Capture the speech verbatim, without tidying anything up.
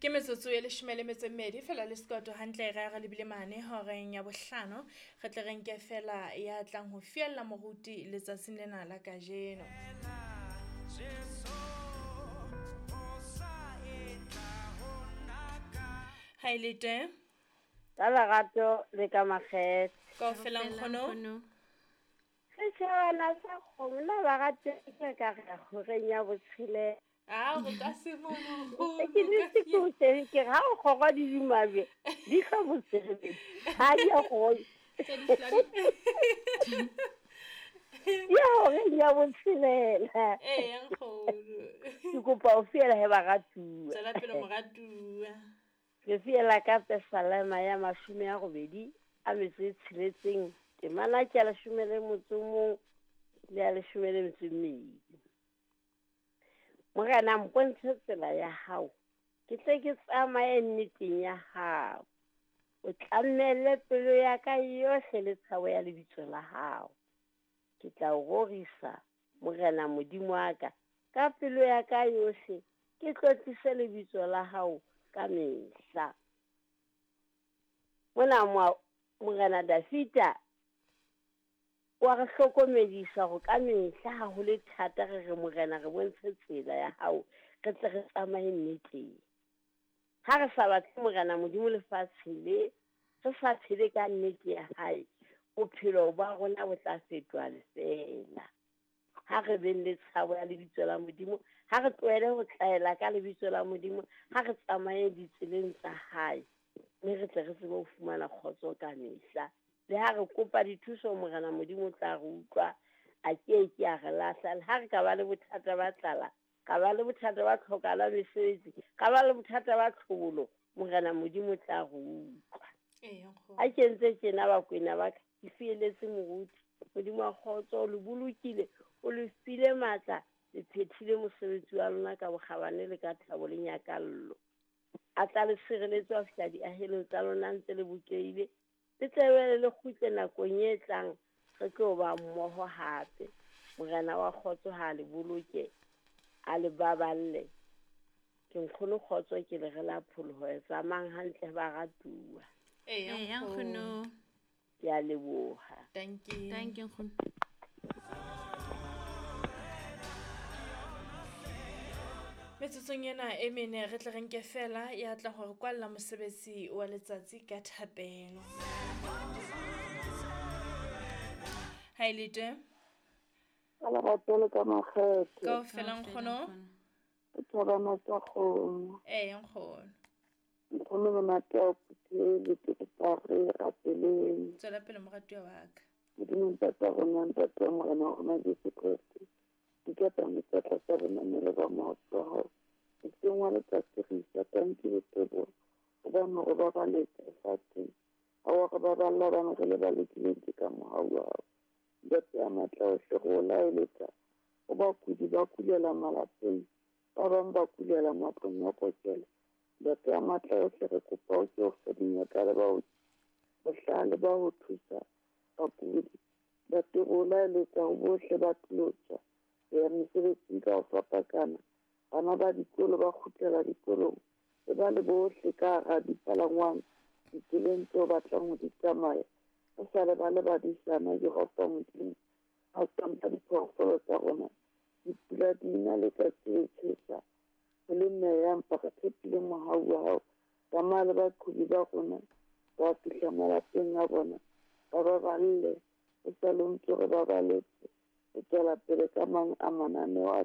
Ke metsotso e leshome le metso e mmedi fela le sekoto hantle re re lebile mane horeng ya bohlano. Re tle re nke fela ya tlang ho fiella moruti letsatsing lena la kajeno. Ha e le teng? Ka lerato le ka makgethe. Kaofela nkgono. Setjhabana sa kgomo na ba rate ke ka re horeng ya botshelela. Ah, o ka se bone nkgono. Ke nnete ke o teng, ke re ha o kgorwa di dumabje, di hla botshebedi. Ha di a kgorwa. Ya horeng ya botshelela. Ee, nkgono. Ke kopa o fiela he baratuwa. Tswela pele moratuwa. Ke fiela ka Pesalema ya mashome a robedi a metso e tsheletseng, temana ke ya leshome le motso o mong le ya leshome le metso e mmedi. Morena, mpontshe tsela ya hao, ke tle ke tsamaye nneteng ya hao. O tlamelle pelo ya ka yohle le tshabo ya lebitso la hao. Ke tla o rorisa, Morena Modimo wa ka, ka pelo ya ka yohle, ke tlotlise lebitso la hao ka mehla. Mona Morena Dafita wa re hlokomedisa hore ka mehla ha ho le thata re re Morena re bontshe tsela ya hao, re tle re tsamaye nneteng. Ha re sa batle Morena Modimo lefatshe le, re sa phele ka nnete ya hae, bophelo ba rona bo tla fetoha lefeela. Ha re beng le tshabo ya lebitso la Modimo, ha re tlohele ho tlaela ka lebitso la Modimo, ha re tsamaye ditseleng tsa hae, mme re tle re tsebe ho fumana kgotso ka mehla. Le ha re kopa dithuso Morena Modimo o tla re utlwa, a ke ke a re lahla. Le ha re ka ba le bothata ba tlala, ka ba le bothata ba tlhokala mesebetsi, ka ba le bothata ba tlhobolo, Morena Modimo o tla re utlwa. Ha ke ntse tjena bakwena ba ka, ke fieletse moruti. Modimo wa kgotso o le bolokile, o le file matla, le phethile mosebetsi wa lona ka bokgabane le ka thabo le nyakallo. A tla le sireletse ho fihla diahelong tsa lona ntse le bokehile. Le tlebele le kgutle nakong e tlang, re tlo ba mmoho hape. Morena wa kgotso ha le boloke, a le baballe. Ke nkgono kgotso, ke le re la pholoho. Tsamayang hantle baratuwa. Ee, nkgono. Ke a leboha. Thank you. Thank you, nkgono. Metsotsong ena e mene re tle re nke fela ya tla hore kwalla mosebetsi wa letsatsi ka thapelo. Ha e le teng? Ka lerato le ka makgethe. Kaofela nkgono. Thabana tsa kgomo. Ee, nkgono. Nkgono monate wa phuthele, ke kopa re rapeleng. Tswela pele moratuwa wa ka. Modimo ntate wa rona, ntate wa Morena wa rona Jesu Kreste, di ka tsamisa tlasa bonamelo ba maoto a hao. Moseng wa letsatsi re isa tanki le teboho, hobane o re babaletse lefatsheng. Ha wa re baballa hobane re le ba lokileng ke ka mohau wa hao. Ntate ya matla ohle, re o laeletsa ho bakudi ba kulela malapeng, ba bang ba kulela matlong a kokelo. Ntate ya matla ohle, re kopa o ke o fe dingaka le baoki bohlale ba ho thusa bakudi. Ntate, re o laeletsa ho bohle ba tlilo tswa ho ya mesebetsing ka ho fapakana. Bana ba dikolo ba kgutlela dikolong, e ba le bohle ka hara dipalangwang ditseleng tseo batlang ho di tsamaya. Re sa lebale badisana, Jehova Modimo, ha o tsampa diphoofolo tsa rona. Dipula di na letsatsi le tjhesa, ho le meya, empa re tshepile mohau wa hao. Tsamaya le baqhobi ba rona ba fihla malapeng a bona, ba baballe, o sa le o ntso re babaletse. O tswela pele ka mang a mananeo a